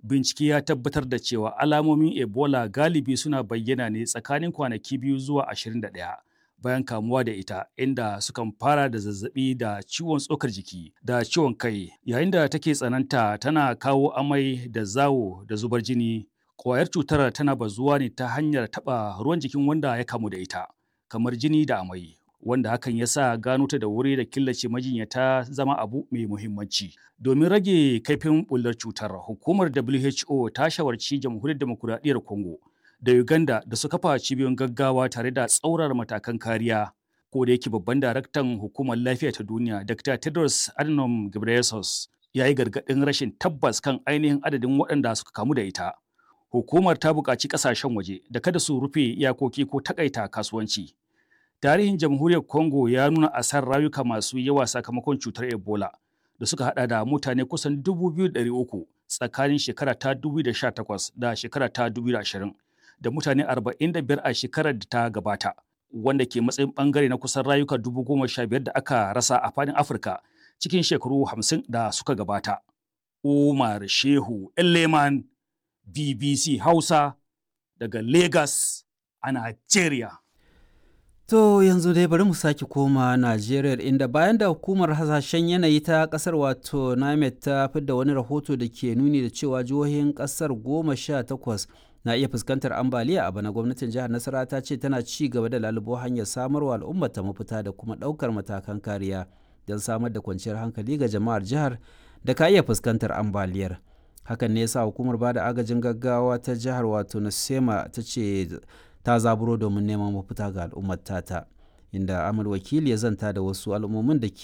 Bincike ya tabbatar da cewa alamomin Ebola galibi suna bayyana ne tsakanin kwanaki 2 zuwa 21 bayan kamuwa da ita, inda sukan fara da zazzabi da ciwon tsokar jiki da ciwon kai, yayin da take tsananta tana kawo amai da zawo da zubar jini. Ƙwayar cutar tana bazuwa ne ta hanyar taɓa ruwan jikin wanda ya kamu da ita, kamar jini da amai, wanda hakan ya sa gano ta da wuri da killace majinyata zama abu mai muhimmanci. Domin rage kaifin bullar cutar, hukumar WHO ta shawarci Jamhuriyar Demokuraɗiyyar Congo da Uganda da su kafa cibiyoyin gaggawa tare da tsaurara matakan kariya. Ko da yake babban daraktan hukumar lafiya ta duniya, Dr. Tedros Adhanom Ghebreyesus, ya yi gargaɗin rashin tabbas kan ainihin adadin waɗanda suka kamu da ita. Hukumar ta buƙaci ƙasashen waje da kada su rufe iyakoki ko takaita kasuwanci. Tarihin Jamhuriyar Congo ya nuna asarar rayuka masu yawa sakamakon cutar Ebola da suka hada da mutane kusan 2,300 tsakanin shekara ta 2018 da shekara ta 2020 da mutane 45 a shekarar da ta gabata, wanda ke matsayin bangare na kusan rayuka 15,000 da aka rasa a fadin Afirka cikin shekaru 50 da suka gabata. Umar Shehu Elleman, BBC Hausa, daga Lagos a Nigeria. To yanzu dai bari mu sake koma Najeriya, inda bayan da hukumar hasashen yanayi ta kasar wato NIMET ta fidda wani rahoto da ke nuni da cewa jihohin kasar 18 na iya fuskantar ambaliya a bana, gwamnatin jihar Nasarawa ta ce tana ci gaba da lalubo hanyar samarwa al'ummar ta mafita da kuma ɗaukar matakan kariya don samar da kwanciyar hankali ga jama'ar jihar da ka iya fuskantar ambaliyar. Hakan ne yasa hukumar bada agajin gaggawa ta jihar wato Nasema ta ce ta zaburo domin neman mafita ga al'ummar tata, inda Amal Wakili ya zanta da wasu al'ummomin da ke